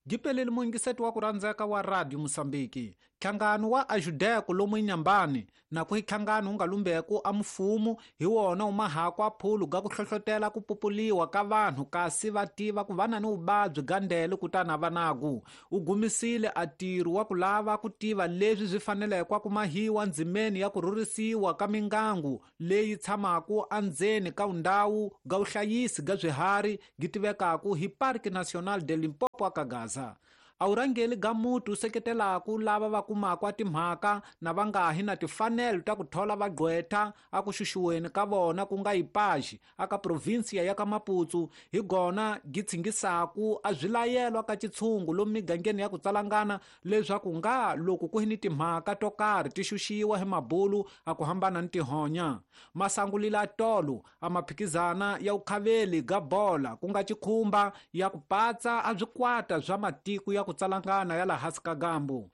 Gipeleli muyingiseti wa ku rhandzeka wa Radio Mosambiki. Nhlangano wa Ajudeko lomu Inhambane na ku nhlangano wu nga lumbeku a mfumo hi wona wu mahako a phulu ga ku hlohlotela ku pupuliwa ka vanhu kasi va tiva ku va na ni vuvabyi ga ndele kutani a va naku. U gumisile a ntirho wa ku lava ku tiva leswi swi faneleke ku mahiwa ndzimeni ya ku rhurhisiwa ka mingangu leyi tshamaka endzeni ka ndhawu ga vuhlayisi ga swiharhi gi tivekaka hi Parque Nacional de Limpopo aka Gaza. A vurhangeri ga muti wu seketelaka lava va kumaka timhaka na va nga hi na timfanelo ta ku thola vagqwetha a ku xuxiweni ka vona ku nga Ipaxi aka provinsiya ya ka Maputo hi gona gi tshingisaku a swilayelwa ka xitshungu lomu migangeni ya ku tsalangana leswaku nga loko ku hi ni timhaka to karhi ti xuxiwa hi mabulu a ku hambana ni tihonya. Masangulila tolo a maphikizana ya vukhaveli ga bola ku nga xikhumba ya ku patsa a swikwata swa matiko ya ku tsalangana ya laha hansi ka gambu.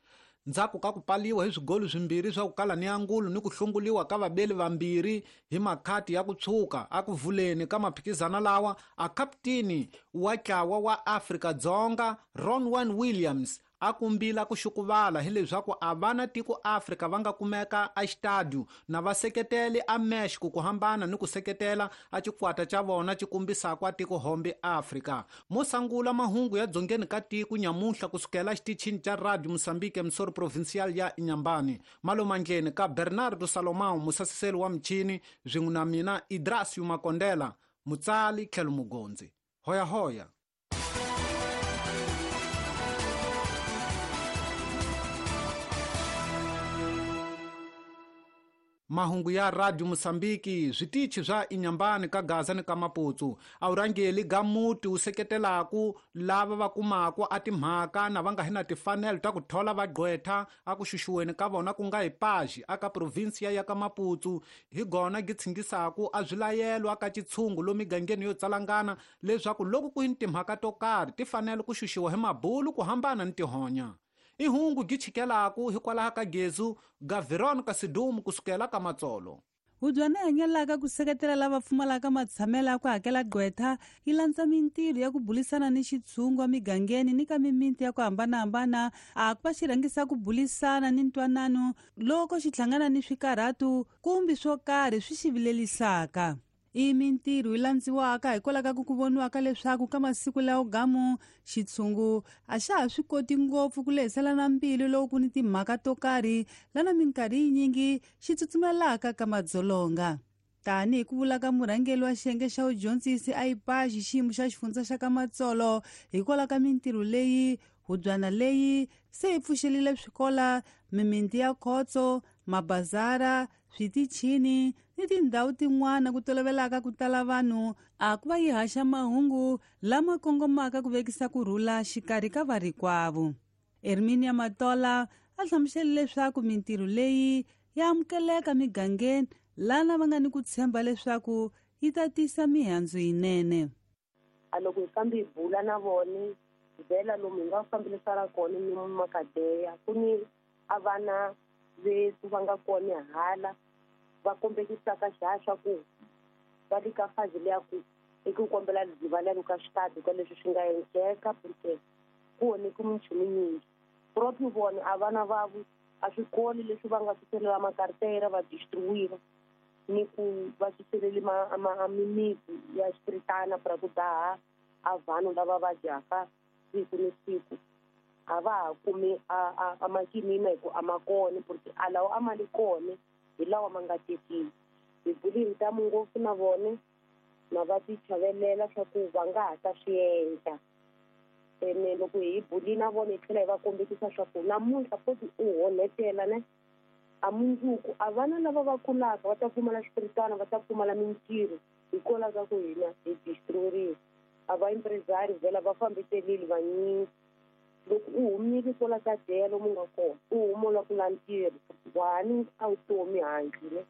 Ndzhaku ka ku paliwa hi swigolo swimbirhi swa ku kala ni angulu ni ku hlunguliwa ka vabeli vambirhi hi makhati ya ku tshuka a ku vuleni ka maphikizana lawa, a kaputeni wa ntlawa wa Afrika-Dzonga Ronwen Williams a kumbila ku xukuvala hileswaku a vana tiko Afrika va nga kumeka a xitadio na va seketeli a Mexico ku hambana ni ku seketela a xikwata xa vona xi kombisaka a tiko hombe Afrika. Mo sangula mahungu ya dzongeni ka tiko nyamuhla kusukela xitichini xa Radio Mozambique Msoro Provincial ya Inhambane. Malomandleni ka Bernardo Salomão musasiseli wa michini swin'we na mina Idrasio Makondela mutsali tlhelo mugondzi. Hoya hoya. Mahungu ya Radio Mozambique switichi swa Inhambane ka Gaza ni ka Maputo a vurhangeri ga muti wu seketelaku lava va kumaka a timhaka na va nga hi na timfanelo ta ku thola vagqwetha a ku xuxiweni ka vona ku nga Ipaxi aka provinsiya ya ka Maputo hi gona gi tshingisaku a swilayelwa ka xitshungu lomu migangeni yo tsalangana leswaku loko ku hi ni timhaka to karhi ti fanele ku xuxiwa hi mabulu ku hambana ni tihonya. I hungu gi chikelaku hikwalaho ka gezu ga Veronica Sidumo kusukela ka Matsolo. Hubyana hanyelaka ku seketela lava pfumalaka matshamelo ya ku hakela gqwetha yi landza mintirho ya ku bulisana ni xitshungu emigangeni ni ka mimiti ya ku hambanahambana a ku va xi rhangisa ku bulisana ni ntwanano loko xi hlangana ni swikarhatu kumbe swo karhi swi xi vilelisaka. I mintirho yi landziwaka hikwalaho ka ku voniwaka leswaku ka masiku lawo gamu xitshungu a xa ha swi koti ngopfu ku lehiselana mbilu loko ku ni timhaka to karhi lana minkarhi yinyingi xi tsutsumelaka ka madzolonga. Tanihi ku vula ka murhangeri wa xiyenge xa vudyondzisi a Ipaxi xiyimo xa xifundza xa ka Matsolo hikwalaho ka mintirho leyi hubyana leyi se yi pfuxelile swikola, mimiti ya khotso, mabazara, switichini ni tindhawu tin'wana ku tolovelaka ku tala vanhu a ku va yi haxa mahungu lama kongomaka ku vekisa ku rhula xikarhi ka varikwavo. Herminia Matola a hlamusele leswaku mintirho leyi ya amukeleka migangeni lana va nga ni ku tshemba leswaku yi ta tisa mihandzu yinene. A loko hi fambi hi bula na vona vhela lomu hi nga fambilisana kona ni makadeya ku ni a vana vethu va nga kona hala va kombekisaka xihaxa ku va le ka fazi leya ku i ku kombela rivalelo ka xitadi ka leswi swi nga endleka porque ku onheke minchumu yinyingi. Propi vona a vana vavo a swikolo leswi va nga suselela makartera va distribuira ni ku va suseleli mimiti ya xipiritana pra ku daha a vanhu lava va dyaka siku ni siku. A va ha kumi a makinina hi ku a ma kona porque a lawa a ma li kona hi lawa ma nga tekiwi. Hi bule hi ntamu ngopfu na vona na va ti chavelela swa ku va nga ha ta swi endla. Ene loko hi bule na vona hi tlhela hi va kombekisa swa ku namuntlha futhi u onhetela ne a mundzuku a vana lava va kulaka va ta pfumala xipiritana va ta pfumala mintirho hikwalaho ka ku hina hi destroyeriwe. A va empresario vhela va fambiselile vanyingi. Loko u humile kwala ka deya lomu nga kona u huma u lava ku lava ntirho wani a vutomi handle ne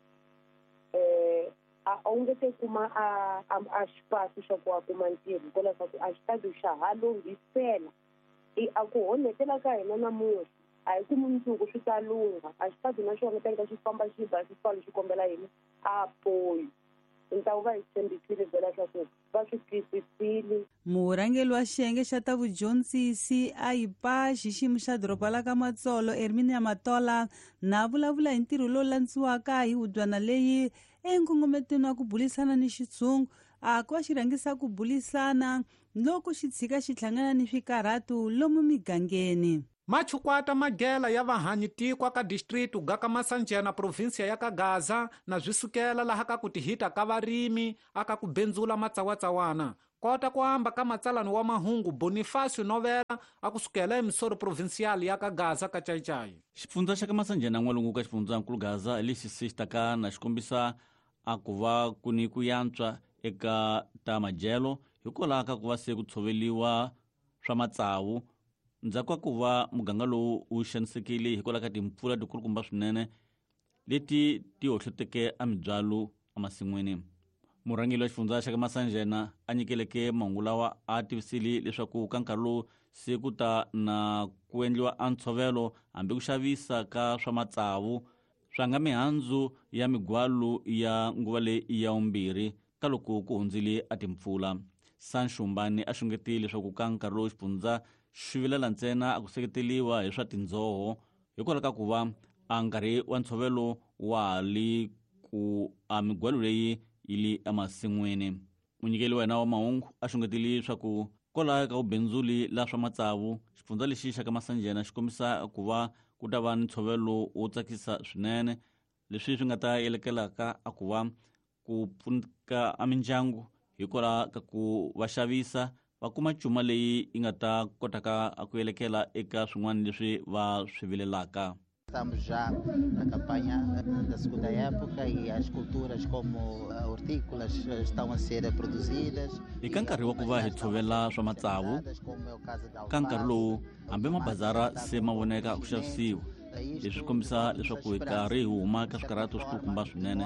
a wu nge te kuma a xipasi xa ku a kuma ntirho hikwalaho ka ku a xitadi xa ha lunghisela. I a ku onhetela ka hina namuntlha a hi ku mundzuku swi ta lungha a xitadi na xona teka xi famba xi ba xi pfala xi kombela yini a poyi. Ntawu va hi tshembisile vhela swa ku va swi twisisile. Murhangeri wa xiyenge xa ta vudyondzisi a yipa xiximo xa doroba la ka Matsolo Erminia Matola na vulavula hi ntirho lowu landziwaka hi hubyana leyi enkongometweni wa ku bulisana ni xitshungu a ku va xi rhangisa ku bulisana loko xi tshika xi hlangana ni swikarhatu lomu migangeni. Machukwata magela ya vahanyi tikwa ka distritu ga ka Masanjena provinsia ya ka Gaza na swi sukela laha ka ku tihita ka varimi aka ku benzula matsawatsawana. Kota ku amba ka matsalani wa mahungu Bonifacio Novela a ku sukela emisoro provincial ya ka Gaza ka Chaichai. Xifundza xa ka Masanjena n'walungu ka xifundzankulu Gaza lexi se xi taka na xikombisa a ku va ku ni ku yantswa eka ta madyelo hikwalaho ka ku va se ku tshoveliwa swa matsavu ndzhaku ka ku va muganga lowu wu xanisekile hikwalaho ka timpfula tikulukumba swinene leti ti hohloteke a mibyalo emasin'wini. Murhangeri wa xifundza xa ka Masanjena a nyikeleke mahungu lawa a tivisile leswaku ka nkarhi lowu se ku ta na ku endliwa a ntshovelo hambi ku xavisa ka swa matsavu swa nga mihandzu ya migwalu ya nguva leyi ya vumbirhi ka loko ku hundzile a timpfula. Sanshumbani a xungetile leswaku ka nkarhi lowu xifundza xi vilela ntsena a ku seketeriwa hi swa tindzoho hikwalaho ka ku va a nkarhi wa ntshovelo wa ha li ku a migwalo leyi yi li emasin'wini. Munyikeli wa hina wa mahungu a xungetile leswaku kwalaho ka vubindzuli la swa matsavu xifundza lexi xa ka Masanjena xi kombisa ku va ku ta va ni ntshovelo wo tsakisa swinene leswi swi nga ta yelekelaka a ku va ku pfuneka a mindyangu hikwalaho ka ku va xavisa va kuma cuma leyi yi nga ta kotaka ku yelekela eka swin'wana leswi va swi vilelaka. Estamos já na campanha da segunda época e as culturas como hortícolas estão a ser produzidas. Eka nkarhi wa ku va hi tshovela swa matsavu, ka nkarhi lowu hambi mabazara se ma voneka ku xavisiwa. Leswi swi kombisa leswaku hi karhi hi huma ka swikarhato swikulukumba swinene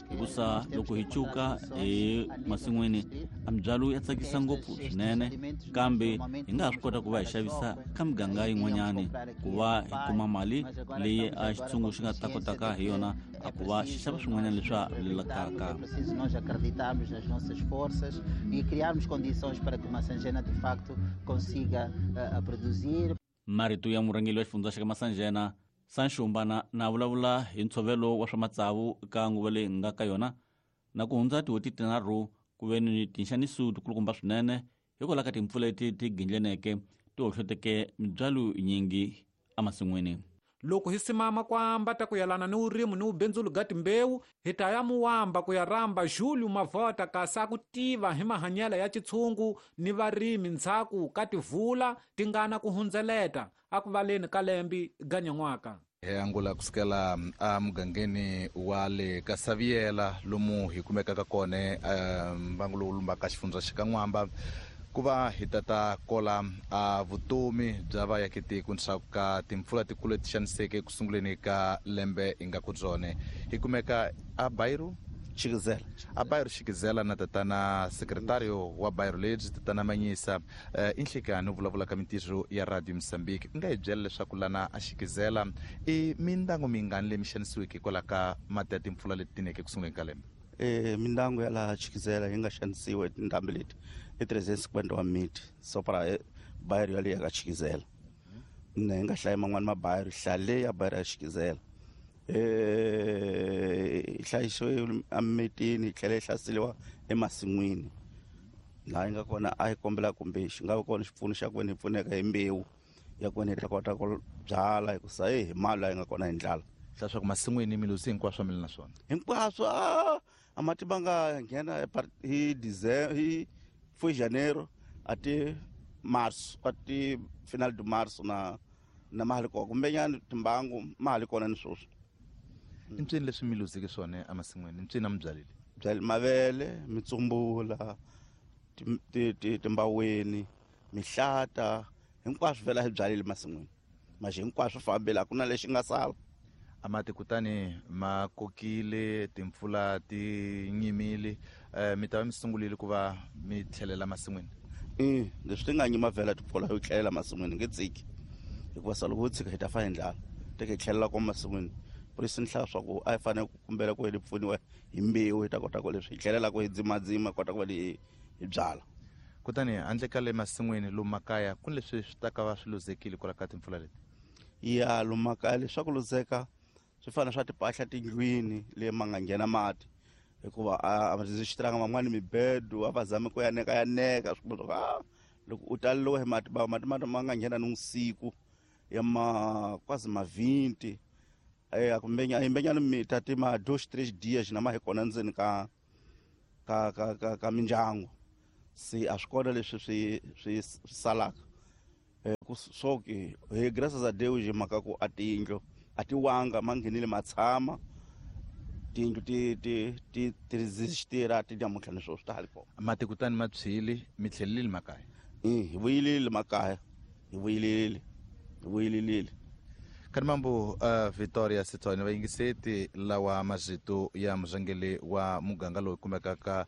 hikusa loko hi cuka hi masin'wini a mibyalo ya tsakisa ngopfu swinene, kambe hi nga ha swi kota ku va hi xavisa ka miganga yin'wanyani ku va hi kuma mali leyi a xitshungu xi nga ta kotaka hi yona a ku va xi xava swin'wanyana leswi a rilelakaka. Preciso nós acreditarmos nas nossas forças e criarmos condições para que Masanjena de facto consiga produzir. Marito ya murhangeri wa xifundza xa ka Masanjena Sanshumbana na vulavula hi ntshovelo wa swa matsavu ka nguva leyi nga ka yona na ku hundza tin'hweti tinharhu ku ve ni tinxaniso tikulukumba swinene hikwalaho ka timpfula leti ti gindleneke ti hohloteke mibyalo yinyingi emasin'wini. Loko hi simama ku amba ta ku yelana ni vurimi ni vubindzulu ga timbewu, hi ta ya muwamba ku ya rhamba Julio Mavota kasi a ku tiva hi mahanyelo ya xitshungu ni varimi ndzhaku ka tivula ti nga na ku hundzeleta a ku valeni ka lembi ga nyan'waka. Hi angula kusukela emugangeni wa le ka Saviela lomu hi kumekaka kona mbangu lowu lumbaka xifundza xa ka N'wamba ku va hi tata kola a vutomi bya vaakatiko ndzhaku ka timpfula tikulu leti xaniseke ku sunguleni ka lembe hi nga ku byone. Hi kumeka a Bairu Xikizela. A Bairu Xikizela na tatana sekretario wa Bairu lebyi tatana Manyisa i nhlekani u vulavula ka mintirho ya Radio Mozambique. U nga hi byela leswaku lana a Xikizela i mindyangu mingani leyi mi xanisiweke hikwalaho ka mati ya timpfula leti tineke ku sunguleni ka lembe? Mindyangu ya laha Xikizela yi nga xanisiwa hi tindhambi leti i 351 miti so para Bairu yaleyo ya ka Xikizela. Ne hi nga hlayi man'wani mabayiro, hlaya leyi ya Bairu ya Xikizela. Yi hlayisiwe emimitini yi tlhela yi hlaseriwa emasin'wini. Laha yi nga kona a yi kombela kumbe xi nga va kona xipfuno xa ku veni hi pfuneka hi mbewu ya ku veni hi ta kota ku byala hikusa hi mali laha yi nga kona hi ndlala. Leswaku masin'wini mi luzi hinkwaswo mi ri na swona? Hinkwaswo, a mati ma nga nghena hi December, hi foi janeiro a ti marso, a ti final de marso na ma ha ri kona, kumbenyana timbangu ma ha ri kona ni sweswi. I mpsini leswi mi luzeke swona emasin'wini? I mpsini a mi byalile? Byale mavele, mitsumbula, timbaweni, mihlata, hinkwaswo vhela hi byalile masin'wini. Maxi hinkwaswo fambile, a ku na lexi nga sala. A mati kutani ma kokile, timpfula ti nyimile, mi ta va mi sungulile ku va mi tlhelela masin'wini? Leswi ti nga nyima vhela timpfula yo tlhelela masin'wini nge tsiki, hikuva sa loko ho tshika hi ta fa hi ndlala. Teke hi tlhelela kwa masin'wini Por isso ni hlaya swa ku a hi fanele ku kumbela ku hi pfuniwa hi mbewu hi ta kota ku leswi hi tlhelelaka hi dzimadzima kota ku va hi byala. Kutani handle ka le masin'wini lomu makaya ku ni leswi swi ta ka va swi luzekile kwala ka timpfula leti? Ya, lomu makaya leswaku luzeka swi fana swa timpahla tindlwini leyi ma nga nghena mati, hikuva a xitiranga van'wani mibedo a va zami ku yaneka yaneka swi kuma swa loko u taleliwe hi mati mati mati ma nga nghena ni vusiku ya ma quase ma 20 kumbe a mita ti ma 2 3 dias na ma hi kona ndzeni ka ka ka ka ka mindyangu. Se a swi kona leswi swi swi salaka ku soke hi graças a Deus hi mhaka ku a tiyindlu a ti wanga ma nghenile ma tshama tiyindlu ti ti ti ti resistira ti namuntlha ni sweswi ta ha ri kona. Mati kutani ma tshwile mi tlhelelile makaya? Hi vuyelile makaya, hi vuyelile, hi vuyelile. Kanimambu Victoria Sithole vayingiseti lawa mazito ya murhangeri wa muganga lowu kumekaka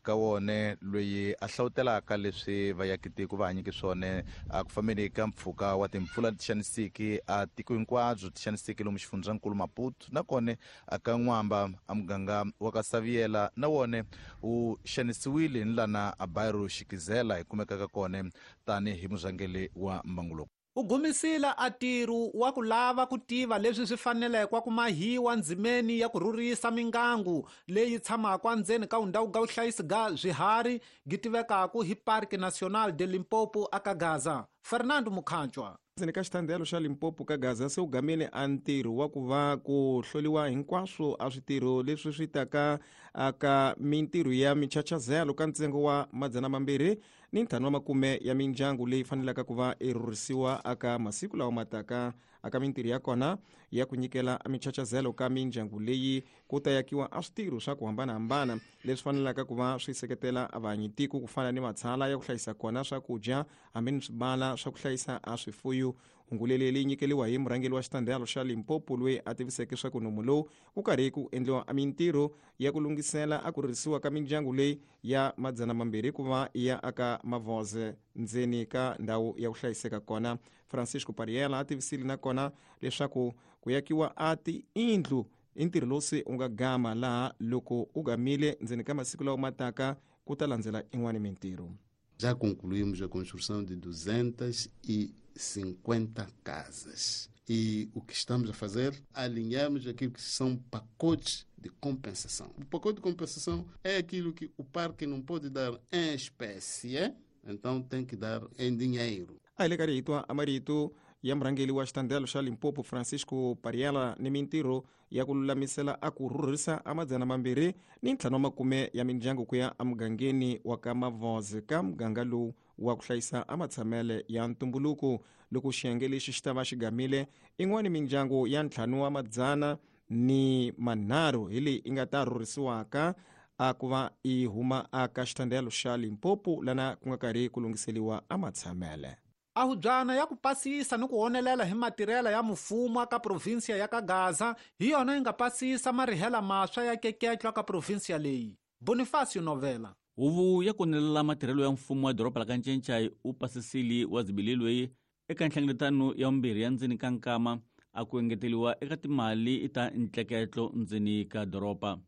ka wone loyi a hlawutelaka leswi vayakitiko va hanyeke swona ku fambeni ka mpfhuka wa timpfula ti xanisiki a tiko hinkwabyo ti xanisiki lomu xifundzankulu Maputo nakona ka N'wamba a muganga wa ka Saviela na wone wu xanisiwile ni lana a Bairro Xikizela hi kumekaka kona tanihi murhangeri wa mbangu lowu. U gumisile a ntirho wa ku lava ku tiva leswi swi faneleke ku mahiwa ndzimeni ya ku rhurisa mingangu leyi tshamaka endzeni ka ndhawu ga vuhlayisi ga swiharhi gi tivekaka hi Parque Nacional de Limpopo aka Gaza. Fernando Mukhanchwa. Ndzeni ka xitandelo xa Limpopo ka Gaza se u gamile a ntirho wa ku va ku hloliwa hinkwaswo a switirho leswi swi taka aka mintirho ya michachazelo ka ntsengo wa 250 ya mindyangu leyi fanelaka ku va i rhurhisiwa aka masiku lawa mataka aka mintirho ya kona ya ku nyikela michachazelo ka mindyangu leyi ku ta yakiwa a switirho swa ku hambanahambana leswi fanelaka ku va swi seketela vahanyitiko ku fana ni matshala ya ku hlayisa kona swakudya hambi ni swibala swa ku hlayisa a swifuyo. Hungu leyi nyikeliwa hi murhangeri wa xitandelo xa Limpopo loyi a tiviseke swa ku nomu lowu ku karhi ku endliwa mintirho ya ku lunghisela a ku rhurhisiwa ka mindyangu leyi ya 200 ku va ya aka Mavoze ndzeni ka ndhawu ya ku hlayiseka kona. Francisco Pariela a tivisile nakona leswaku ku yakiwa a tiyindlu i ntirho lowu se u nga gama laha loko u gamile ndzeni ka masiku lawa mataka ku ta landzela in'wani mintirho. Já concluímos a construção de 250 casas. E o que estamos a fazer? Alinhamos aquilo que são pacotes de compensação. O pacote de compensação é aquilo que o parque não pode dar em espécie, então tem que dar em dinheiro. A hi le ka rito a marito ya murhangeri wa xitandelo xa Limpopo Francisco Pariela ni mintirho ya ku lulamisela a ku rhurhisa a 250 ya mindyangu ku ya emugangeni wa ka Mavoze ka muganga lowu wa ku hlayisa a matshamele ya ntumbuluko. Loko xiyenge lexi xi ta va xi gamile in'wani mindyangu ya 503 hi leyi i nga ta rhurhisiwaka a ku va i huma aka xitandelo xa Limpopo lana ku nga karhi ku lunghiseliwa a matshamele. Ahubyana ya ku pasisa ni ku honelela hi matirhela ya mfumo aka provinsia ya ka Gaza hi yona yi nga pasisa marihela maswa ya keketlo ka provinsia leyi. Bonifacio Novela. Huvo ya konelela matirhelo ya mfumo wa doroba la ka Ncencai u pasisile wa zibili loyi eka nhlengeletano ya vumbirhi ya ndzeni ka nkama a ku engeteliwa eka timali ta ntleketlo ndzeni ka doroba.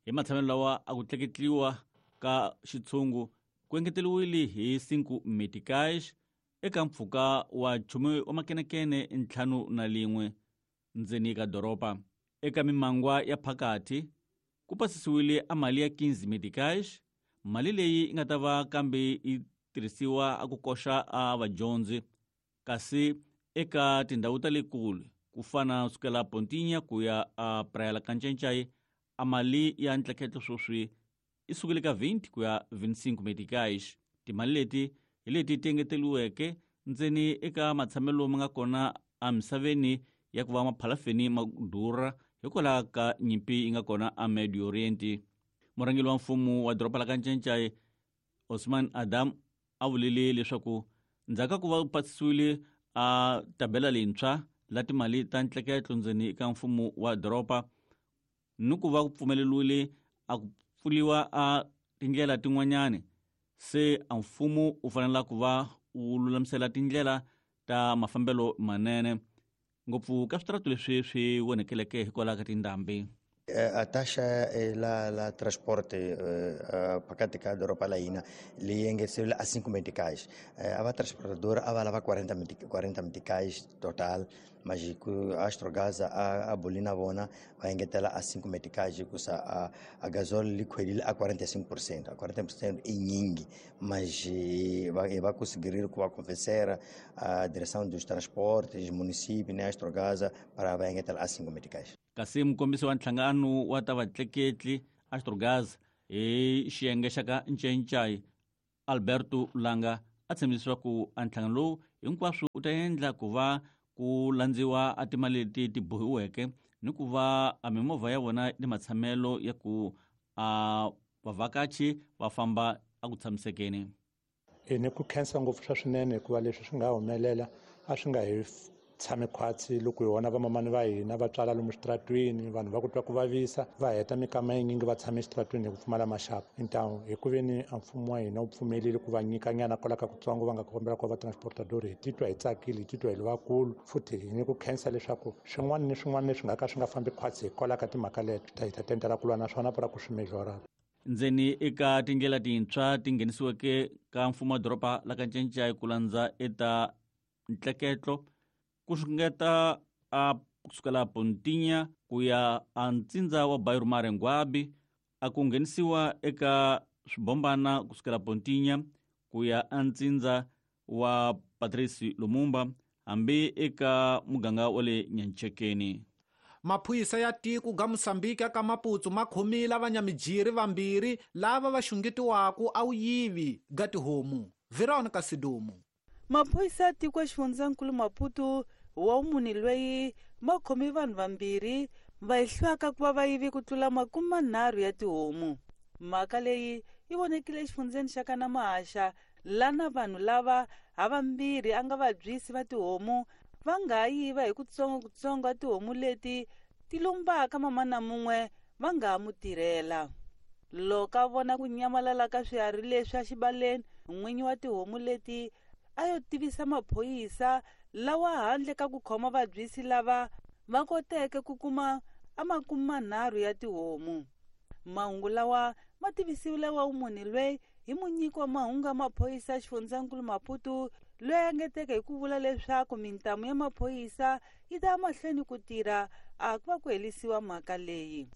Hi matshamelo lawa a ku tleketliwa ka xitshungu ku engeteliwile hi 5 meticais eka mpfhuka wa 10 makenekene 51 ndzeni ka doroba. Eka mimangwa ya phakathi ku pasisiwile a mali ya 15 meticais, mali leyi yi nga ta va kambe yi tirhisiwa a ku koxa a vadyondzi. Kasi eka tindhawu ta le kule ku fana sukela Pontinha ku ya a Praia la ka Ncencai a mali ya ntleketlo sweswi i sukile ka 20 ku ya 25 meticais. Timali leti hi leti ti engeteliweke ndzeni eka matshamelo ma nga kona emisaveni ya ku va maphalafeni ma durha hikwalaho ka nyimpi yi nga kona a Medio Oriente. Murhangeri wa mfumo wa doroba la ka Ncencai Osman Adam a vulile leswaku ndzhaku ka ku va pasisiwile a tabela leyintshwa la timali ta ntleketlo ndzeni ka mfumo wa doroba ni ku va ku pfumeleriwile a ku pfuliwa a tindlela tin'wanyani, se a mfumo u fanela ku va wu lulamisela tindlela ta mafambelo manene. Ngopfu ka switaratu leswi swi onhekeleke hikwalaho ka tindhambi. A taxa la transporte phakathi ka doroba la hina leyi engeteriwile a 5 meticais. A va transportadora a va lava 40 meticais total, mas ku Astrogás a buli na vona va engetela a 5 meticais hikusa a gasol li khwelile a 45%. A 40% i nyingi, mas va conseguiram ku va convencer a direção dos transportes, município, né, Astrogás para va engetela a 5 meticais. Kasi mukombisi wa nhlangano wa ta vatleketli Astrogás hi xiyenge xa ka Ncencai Alberto Langa a tshembisa leswaku a nhlangano lowu hinkwaswo u ta endla ku va ku landziwa a timali leti ti bohiweke ni ku va a mimovha ya vona ni matshamelo ya ku a vavhakachi va famba a ku tshamisekeni. Ni ku khensa ngopfu swa swinene hikuva leswi swi nga humelela a swi nga hi tshami khwatsi loko hi vona vamamani va hina va tswala lomu switaratwini, vanhu va ku twa ku vavisa va heta mikama yinyingi va tshame exitaratwini hi ku pfumala maxaka. Então hi ku veni a mfumo wa hina wu pfumelile ku va nyika nyana kwala ka kutsongo va nga kombela ku va transportador, hi titwa hi tsakile, hi titwa hi ri vakulu futhi hi ni ku khensa leswaku swin'wana ni swin'wana leswi nga ka swi nga fambi khwatsi hikwalaho ka timhaka leto hi ta tendela ku lwa na swona para ku swi mejora. Ndzeni eka tindlela tintshwa ti nghenisiweke ka mfumo wa doroba la ka Ncencai ku landza eta ntleketlo ku xungeta a kusukela Pontinha ku ya a ntsindza wa Bairro Marenguabi, a ku nghenisiwa eka swibombana kusukela Pontinha ku ya a ntsindza wa Patrice Lumumba hambi eka muganga wa le Nyanchekeni. Maphorisa ya tiko ga Mosambiki ka Maputo ma khomile vanyamijiri vambirhi lava va xungetiwaka a wuyivi ga tihomu. Veronica Sidumo. Maphorisa ya tiko exifundzankulu Maputo wa munhu loyi ma khome vanhu vambirhi va ehlwaka ku va va yivi ku tlula 30 ya tihomu. Mhaka leyi yi vonekile exifundzeni xa ka Namahasha lana vanhu lava havambirhi a nga vabyisi va tihomu va nga yiva hi kutsongokutsongo a tihomu leti ti lumbaka mamana mun'we va nga ha mu tirhela. Loko a vona ku nyamalala ka swiharhi leswi exibaleni, n'winyi wa tihomu leti a yo tivisa maphorisa lawa handle ka ku khoma vabyisi lava va koteke ku kuma a 30 ya tihomu. Mahungu lawa ma tivisiwile wa munhu loyi hi munyiki wa mahungu ya maphorisa xifundzankulu Maputo loyi a engeteke hi ku vula leswaku mintamu ya maphorisa yi ta mahlweni ku tirha a ku va ku herisiwa mhaka leyi.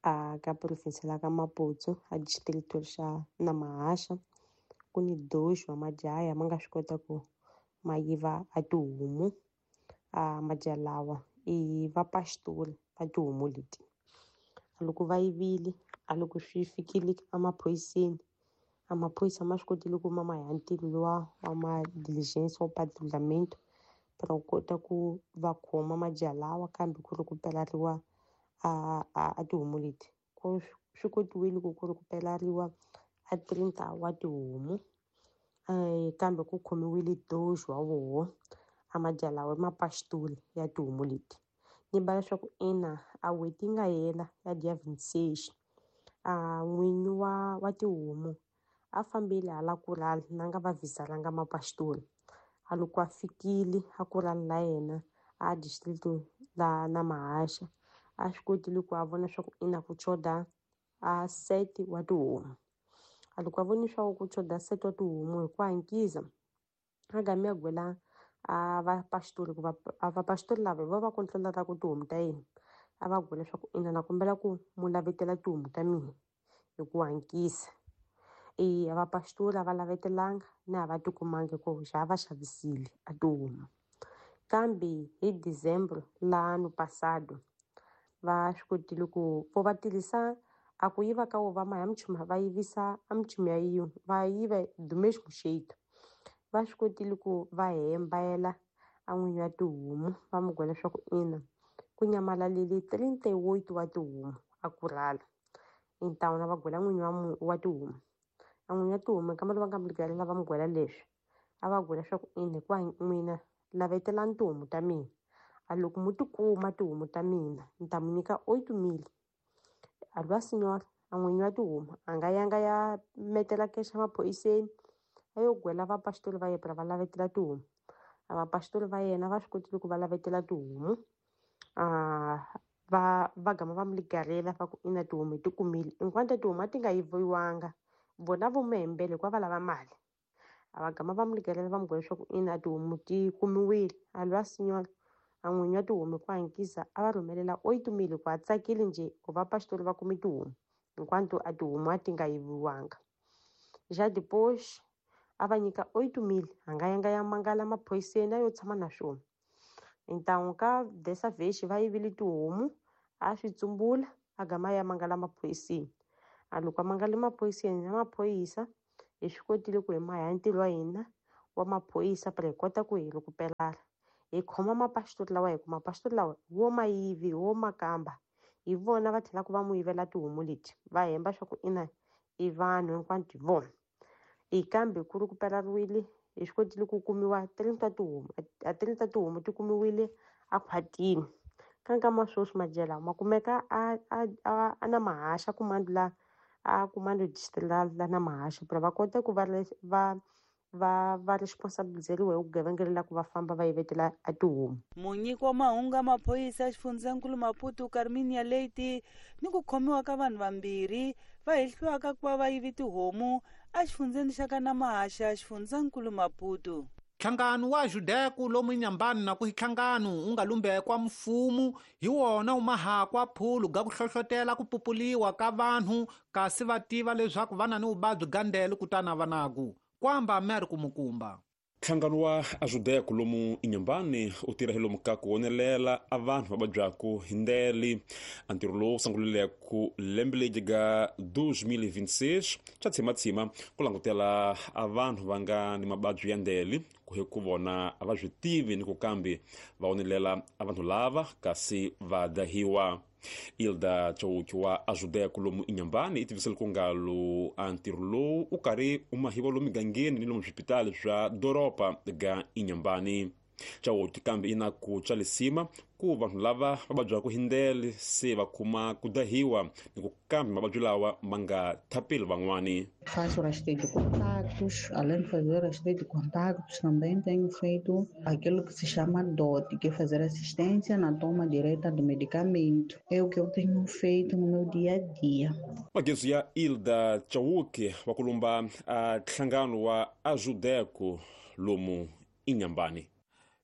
A ka province la ka Maputo a distrito xa Namahasha ku ni doxo wa majaha ma nga swi kota ku ma yiva a tihomu. A majaha lawa i vapastori va tihomu leti. Loko va yivile, a loko swi fikile emaphoriseni, a maphorisa ma swi kotile ku ma ya ntirho luwa wa ma diligence wa patrulhamento para ku kota ku va khoma majaha lawa, kambe ku ri ku pelariwa a tihomu leti. Ku swi kotiwile ku ri ku pelariwa a 30 wa tihomu, kambe ku khomiwile doxo wa voho a majaha lawa i mapastori ya tihomu leti. Ni ba leswaku ina a n'hweti yi nga hela ya dia 26, a n'winyi wa tihomu a fambile hala kurala na nga va vhisalanga mapastori. A loko a fikile a kurala la yena a distrito la Namahasha, a swi kotile ku a vona swa ku ina ku choda a set wa tihomu. A loko a voni swa ku choda set wa tihomu hi ku hankisa a gami a gwela a vapastori ku a vapastori lava hi vo va controlaka ku tihomu ta yena. A va gwela leswaku ina na kombela ku mu lavetela tihomu ta mina hi ku hankisa. A vapastori a va lavetelanga na a va tikumangi ku xa va xavisile a tihomu. Kambe hi December la ano passado va swi kotile ku vo va tirhisa a ku yiva ka wo va maya mchuma va yivisa a mchuma ya yin'we va yiva do mesmo jeito. Va swi kotile ku va hembayela a n'winyi wa tihomu va mu gwela leswaku ina ku nyamalalile 38 wa tihomu a kurhala. Então na va gwela n'winyi wa tihomu. A n'winyi wa tihomu kambe va nga mu gwela va mu gwela leswi a va gwela leswaku ina hikuva n'wina lavetelani tihomu ta mina. A loko mu tikuma tihomu ta mina ni ta mu nyika 8,000. A lwa senhora a n'winyi wa tihomu a nga yanga ya metela kexa maphoriseni a yo gwela vapastori va yena va lavetela tihomu. A vapasitori va yena va swi kotile ku va lavetela tihomu, va gama va mi ligarela va ku ina tihomu hi ti kumile. Hinkwato tihomu a ti nga yiviwanga, vona vo mi hembele hikuva va lava mali. A va gama va mi ligarela va mi byela leswaku ina tihomu ti kumiwile. A lwa senhor a n'winyi wa tihomu hi ku hankisa a va rhumelela 8 mil hikuva a tsakile njhe ku va pasitori va kume tihomu, hinkwato a tihomu a ti nga yiviwanga. Já depois a va nyika 8 mil, a nga yanga ya mangala maphoyiseni a yo tshama na swona. Então ka dessa vez va yivile tihomu, a swi tsumbula a gama ya mangala maphoyiseni. A loko a mangale maphoyiseni na maphoyisa hi swi kotile ku hi maha ntirho wa hina wa maphorisa para hi kota ku hi recuperar. Hi khoma mapasitori lawa hi ku mapasitori lawa wo ma yivi wo makamba hi vona va tlhelaka va mu yivela tihomu leti va hemba swa ku ina i vanhu hinkwato hi vona. Hi kambe ku recuperariwile hi swi kotile ku kumiwa 30 tihomu, a 30 tihomu ti kumiwile a khwatini. Ka nkama sweswi madyela ma kumeka a na mahaxa kumando la a kumando district la na mahaxa para va kota ku va responsibilizeriwa hi vugevenga la ku va famba va yivetela a tihomu. Munyiki wa mahungu ya maphorisa ya xifundzankulu Maputo Carminia Leite ni ku khomiwa ka vanhu vambirhi va hehliwaka ku va va yivi tihomu exifundzeni xa ka Namahaxa xifundzankulu Maputo. Nhlangano wa Judeku lomu Inhambane na ku nhlangano wu nga lumbekwa mfumo hi wona wu mahakwa phulu ga ku hlohlotela ku pupuliwa ka vanhu kasi va tiva leswaku va na ni vuvabyi ga ndele kutana va naku kwamba meri kumukumba. Nhlangano wa Ajudeku lomu Inhambane u tirha hi lomu ka ku wonelela a vanhu va vabyaku hi ndele. A ntirho lowu sungulileke lembe leri ga 2026 xa tshimatsima ku langutela a vanhu va nga ni mavabyi ya ndele ku hi ku vona a va swi tivi ni ku kambe va wonelela a vanhu lava kasi va dahiwa. Ilda Chauki wa Ajudeku lomu Inhambane i tivisele ku ngalo a ntirho lowu u karhi u mahiwa lomu migangeni ni lomu swipitali swa doroba ga Inhambane. Chauki kambe i na ku tswalisima ku vanhu lava va vabyaka hi ndele se va kuma ku dahiwa ni ku kambe mavabyi lawa ma nga thapeli van'wani. Faço rastreio de contactos, além de fazer rastreio de contactos, também tenho feito aquilo que se chama DOT, que é fazer assistência na toma direta do medicamento. É o que eu tenho feito no meu dia a dia. Magezu ya Ilda Chauki wa kulumba a nhlangano wa Ajudeco lomu Inhambane.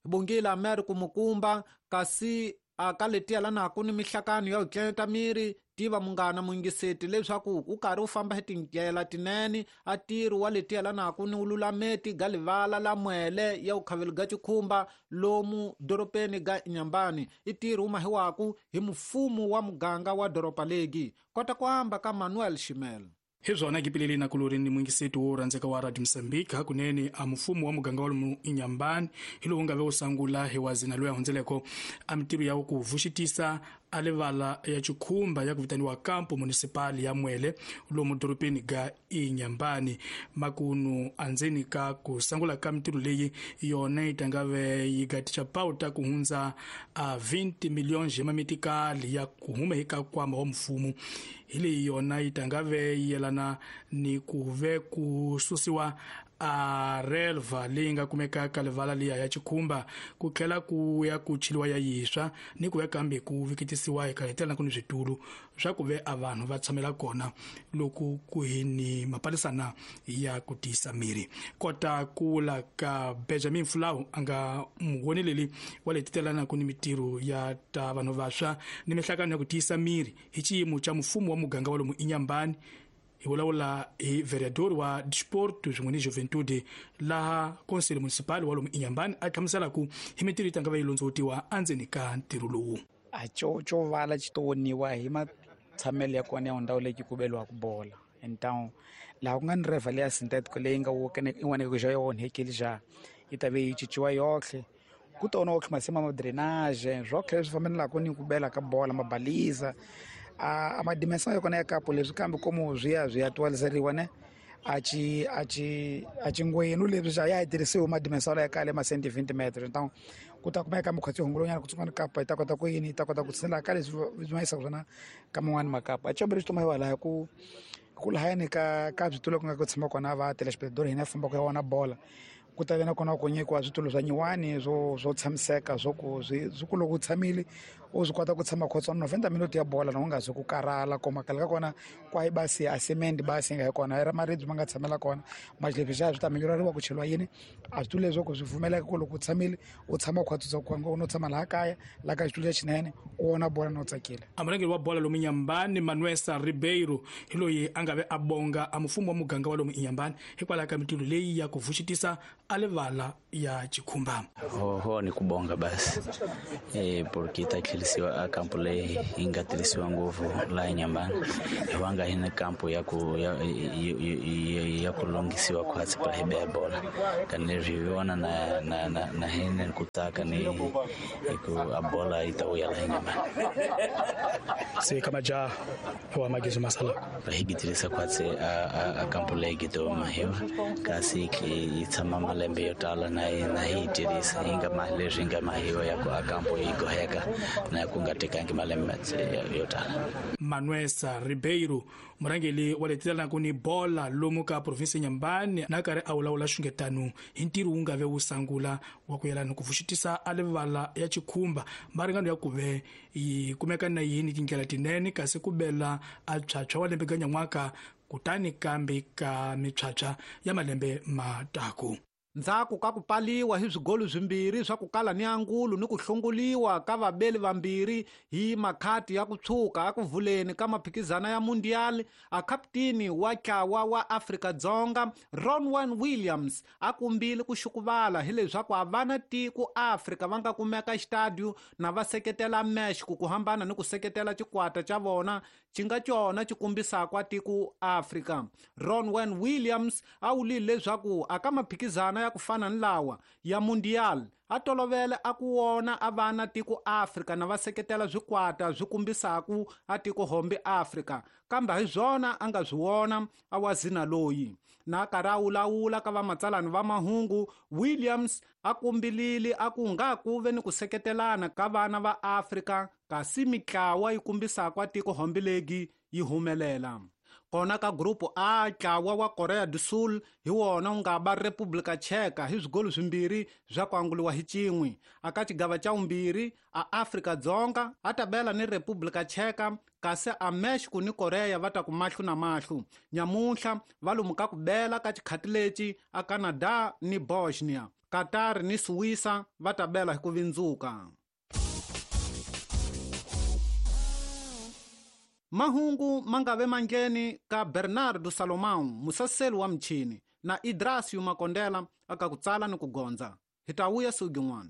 Bongila meri kumukumba kasi a ka letiya la naku ni mihlakano ya ku tleta miri tiva munghana muyingiseti leswaku u karhi u famba hi tindlela tinene a tirhi wa letiya la naku ni ululameti ga livala la mwele ya ukhaveli ga chikhumba lomu doropeni ga Inhambane i tirhi wu mahiwaku hi mfumo wa muganga wa doropa legi kota ku amba ka Manuel Shimel. Hi swona kipileli na kulori ni mwingiseti wo rhandzeka wa Radio Mozambique hakunene a mfumo wa muganga wa lomu Inhambane hi lowu nga ve wu sangula hi wazina loyi a hundzeleko a mitirho ya ku vuxitisa a livala ya chikhumba ya ku vitaniwa Campo Municipal ya Mwele lomu doropeni ga Inhambane. Makunu andzeni ka ku sangula ka mitirho leyi yona yi tangave yi gaticha pauta ku hundza a 20 milhões ya mamitikali ya ku huma eka nkwama wa mfumo. Hi leyi yona yi tangave yi yelana ni ku ve ku susiwa a relva leyi nga kumeka ka livala liya ya chikhumba ku tlhela ku ya ku chiliwa ya yiswa ni ku ya kambe ku vikitisiwa eka hetelela ku ni switulu swa ku ve a vanhu va tshamela kona loko ku hi ni mapalisana ya ku tiyisa miri. Kota ku vula ka Benjamin Fulau a nga muwoneleli wa le titelana ku ni mitirho ya ta vanhu vantshwa ni mihlakano ya ku tiyisa miri hi xiyimo xa mfumo wa muganga wa lomu Inhambane. Hi vulavula hi vereador wa Desporto swin'we ni Juventude laha Conselho Municipal wa lomu Inhambane a hlamusela ku hi mitirho yi tanga va yi londzovutiwa endzeni ka ntirho lowu. A co vala xi to woniwa hi matshamelo ya kona ya ndhawu leyi ku beliwaka bola. Então laha ku nga ni reva leya synthetico leyi nga in'wana xa yo onhekile xa yi ta ve yi cinciwa yohle ku tona otlhe masimu ma drainage swotlhe leswi fambelaka ni ku bela ka bola mabaliza a madimensão ya kona ya kapo leswi kambe komo swi ya swi ya twaliseriwa ne a ci a ci a cingwenu leswi xa ya tirhisiwe madimensão ya kale ma 120 metros. Então ku ta kumeka mukhatsi hungulonyana kutsongwana kapa yi ta kota ku yini yi ta kota ku tshinela ka leswi swi ma yisaka swona ka man'wani makapa. A xikombelo xi tomayiwa laha ku lahayani ka switulu ku nga ku tshama kona va telespectador hina fambaka ya vona bola Ku ta ve na kona ku nyikiwa switulu swa nyiwani swo tshamiseka, swo ku swi ku loko u tshamile u swi kota ku tshama khotswana 90 minute ya bola na u nga zi ku karhala. Koma khale ka kona kwayi basi a cement basi yi nga hi kona i ra maribye ma nga tshamela kona maxilephi xa swi ta minyurariwa ku cheliwa yini a switulu leswo ku swi pfumeleka ku loko u tshamile u tshama khwatsisa ku u no tshama laha kaya laha ka xitulu lexinene u vona bola no tsakile. A murhangeri wa bola lomu Inhambane Manuel Ribeiro hi loyi a nga ve a bonga a mfumo wa muganga wa lomu Inhambane hikwalaho ka mintirho leyi ya ku vuxitisa a livala ya chikhumba. Ho ni kubonga basi porque ta tlherisiwa a kampo leyi yi nga tirhisiwa ngopfu laha Inhambane hiwanga hi na kampo ya ku ya ku lunghisiwa khwatsi para hi beya bola kanileswi hi vona na hina ku tsaka ni ku a bola yi ta vuya laha Inhambane. Se ka majaha wa magizo masala hi tirhisa khwatsi a kampo leyi gidoma hiwa kasi yi tshama malembe yo tala na hi tirhisa yi nga leswi nga mahiwa ya ku a kampo yi goheka na ku nga tekangi malembe yo tala. Manuel Ribeiro murhangeri wa letilanaka ni bola lomu ka provinsi Inhambane na karhi a vulavula xungetano hi ntirho wu nga ve wu sangula wa ku yelana ku vuxitisa a livala ya chikhumba maringano ya kuve yi kumeka na yini tindlela tinene kasi ku bela a phyaphywa wa lembe ganyan'waka kutani kambe ka miphyaphywa ya malembe mataku. Ndzhaku ka ku paliwa hi swigolo swimbirhi swa ku kala ni angulo ni ku hlongoliwa ka vabeli vambirhi hi makhati ya ku tshuka aku vuleni ka maphikizana ya Mundial, a kapteni wa ntlawa wa Afrika-Dzonga Ronwen Williams a kumbile ku xukuvala hileswaku a vana tiko Afrika va nga kumeka xitadio na va seketela Mexico ku hambana ni ku seketela xikwata xa vona xi nga cona xi kombisaka tiko Afrika. Ronwen Williams a vulile leswaku aka maphikizana ya ku fana ni lawa ya Mundial a tolovele a ku wona a vana tiko Afrika na va seketela swikwata swi kombisaku a tiko hombe Afrika, kambe hi swona a nga swi wona a wa zina loyi. Na karhi a wulawula ka vamatsalani va mahungu, Williams a kumbilile a ku nga ku ve ni ku seketelana ka vana va Afrika kasi mitlawa yi kombisaka tiko hombe legi yi humelela. Kona ka grupu A, ntlawa wa Korea do Sul hi wona wu nga ba Republika Tsheka hi swigolo swimbirhi swa ku anguliwa hi cin'we. Aka xigava xa vumbirhi a Afrika-Dzonga a ta bela ni Republika Tsheka kasi a Mexico ni Korea va ta ku mahlo na mahlo. Nyamuntlha va lomu ka ku bela ka xikhati lexi a Canada ni Bosnia, Qatar ni Suwisa va ta bela hi ku vindzuka. Mahungu mangave mangheni ka Bernardo Salomão, musaseli wa mchini, na Idrasio Makondela aka ku tsala ni ku gondza. Hi ta vuya siku rin'wana.